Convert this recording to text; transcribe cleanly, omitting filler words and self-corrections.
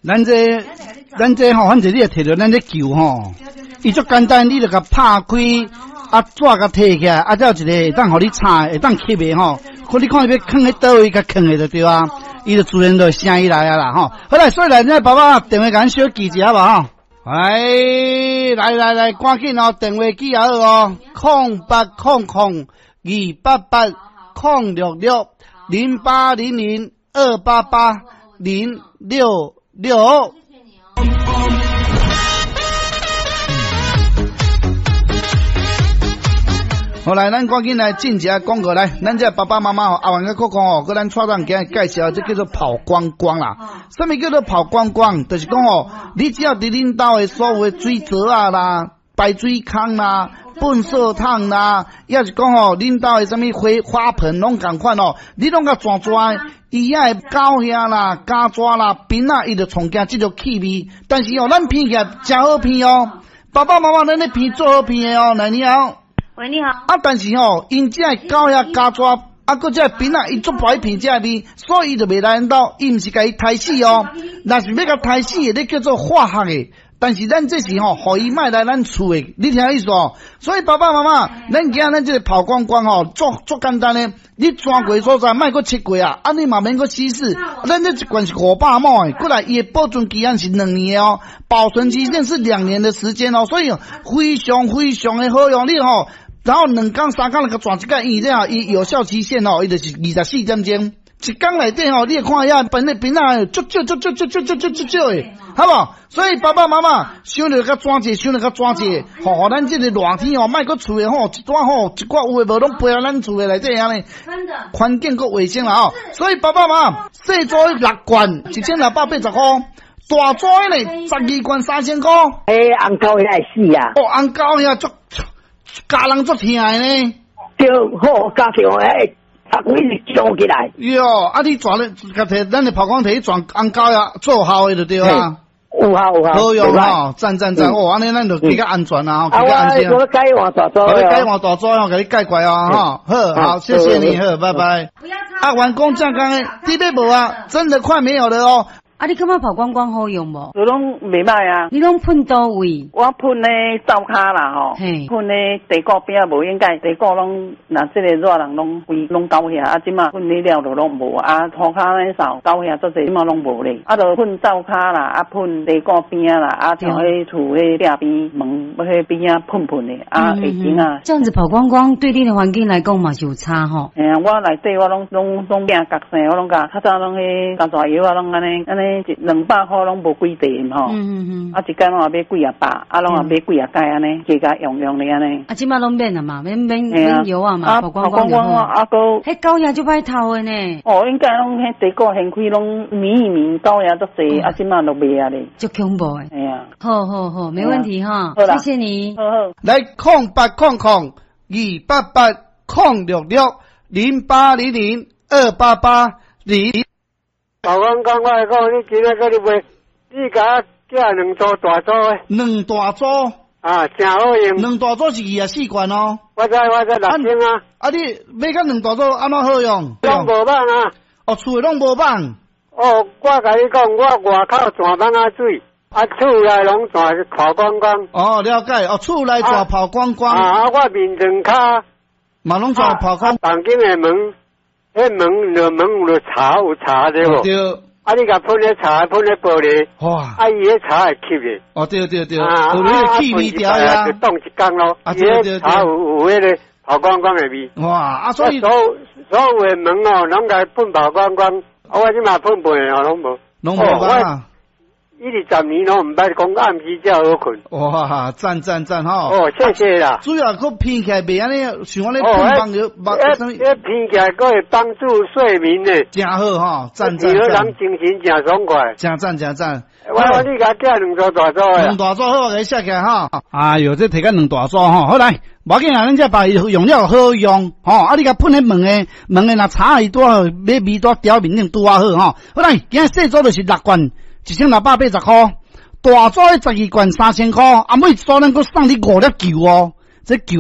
咱這吼，反正你會提著咱這球吼，伊足簡單，你就共拍開，啊紙共提起來，啊才有一個會當予你插，會當吸的吼。看你看欲囥佇佗位，共囥的就對啊，伊就自然就會聲音來啊啦吼。好來，所以來，咱爸爸電話共咱小記一下無吼。來來來來，趕緊哦，電話記好哦，0800288066，0800288066。好來，咱趕緊來進一下廣告來，咱這爸爸媽媽吼，阿元佮講吼，閣咱蔡總今日介紹，這叫做跑光光啦。啥物叫做跑光光？就是講吼，你只要佇恁兜的所有的水槽仔啦、排水孔啦、糞掃桶啦，抑是講吼，恁兜的啥物花花盆攏仝款哦，你攏共轉轉，伊遐的狗遐啦、家蛇啦、檳仔，伊就創驚這個氣味。但是哦，咱鼻起來誠好鼻哦，爸爸媽媽，咱咧鼻做好鼻的哦，來你好。喂，你好。啊，但是吼，𪜶這个狗遐家蛇，啊，閣這个檳仔，伊足歹鼻這个味，所以伊就袂來恁兜，伊毋是共伊刣死哦。若是欲共刣死的，你叫做化學的。但是咱這是吼，予伊莫來咱厝的，你聽意思哦？所以爸爸媽媽，咱今咱這個跑光光吼，足足簡單的，你轉過所在，莫閣切過啊，啊你嘛免閣稀釋。咱這一罐是500毫的，過來伊的保存期限是兩年哦，保存期限是兩年的時間哦，所以非常非常的好用，你吼，然後兩工三工就共轉一擺，伊了伊有效期限哦，伊就是24點鐘。一工內底吼，你會看遐飯的檳仔足少足少足少足少足少的，好無？所以爸爸媽媽想著較轉者，想著較轉者，吼，予咱這個熱天吼，莫閣厝的吼，一段吼，一寡有的無攏飛來咱厝的內底按呢，環境閣衛生啦吼。所以爸爸媽媽，細組的六罐1680箍，大組的呢12罐3000箍。欸，紅狗遐會死啊！哦，紅狗遐足，咬人足疼的呢。對，好，咬著欸。啊！我一直叫起來。喲，啊！你轉咧，共提，咱的曝光提去轉紅狗呀，做效的就對啊。有效有效。好用吼，讚讚讚！哦，按呢咱就比較安全啦，吼，比較安心。我改換大組。我改換大組哦，共你改過來哦，吼，好，好，謝謝你，好，拜拜。啊，員工正工的，這邊無啊，真的快沒有了哦。啊，你感覺跑光光好用無？我攏袂歹啊。你攏噴佗位？我噴咧灶跤啦吼，噴咧地鼓邊仔無應該，地鼓攏若這個熱人攏規攏狗遐，啊這馬噴咧了就攏無啊，塗跤咧掃狗遐足濟，這馬攏無咧。啊，就噴灶跤啦，啊噴地鼓邊仔啦，啊像彼厝彼壁邊門彼邊仔噴噴的，啊會整啊。這樣子跑光光對你的環境來講嘛是有差吼。嘿啊，我內底我攏攏攏拼角生，我攏共較早攏彼工大藥啊，攏按呢按呢。一兩百箍攏無幾塊吼，啊一工攏也買幾仔百，啊攏也買幾仔蓋按呢，加加用用咧按呢。啊這馬攏免啊嘛，免免免藥啊嘛，跑光光就好。啊閣，彼狗也足歹偷的呢。哦，應該攏彼地鼓掀開攏暝一暝狗也足濟，啊這馬都袂啊咧。足恐怖的。嘿啊。好好好，沒問題哈，謝謝你。好好。來0800288066，08002880。老公講，我來講，你今仔閣咧賣，你共我寄兩組大組的。兩大組。啊，誠好用。兩大組是24罐哦。我知，我知，6000啊。啊，你買甲兩大組按怎好用？攏無蠓啊。哦，厝的攏無蠓。哦，我共你講，我外口泉蠓仔水，啊，厝內攏泉跑光光。哦，了解。哦，厝內泉跑光光。啊，啊，我眠床跤。嘛攏泉跑光。房間的門。彼門就門有茶有茶對無？對。啊，你共噴彼茶，噴彼玻璃。哇！啊，伊彼茶會吸的。哦，對對對。啊，有彼個氣味調啊。就凍一工咯。啊，對對對。茶有有彼個跑光光的味。哇！啊，所以所所有的門哦，攏共噴跑光光。啊，我這馬噴噴的哦，攏無。攏無啊。一二十年攏毋捌講暗時才好睏。哇，讚讚讚吼！哦，謝謝啦。主要閣鼻起來袂按呢，像按呢噴放藥，彼鼻起來閣會幫助睡眠呢。誠好吼，讚讚讚。人精神誠爽快。誠讚誠讚。我我你共寄兩組大組的。兩大組好，我共你寫起來吼。哎喲，這提甲兩大組吼，好來，無要緊啊，咱這把用了好用吼。啊，你共噴彼門的，門的若擦伊拄好，欲味拄調面頂拄仔好吼。好來，今日細組就是六罐。1680箍，大組的12罐3000箍，啊，每一組咱閣送你五粒球哦，這球。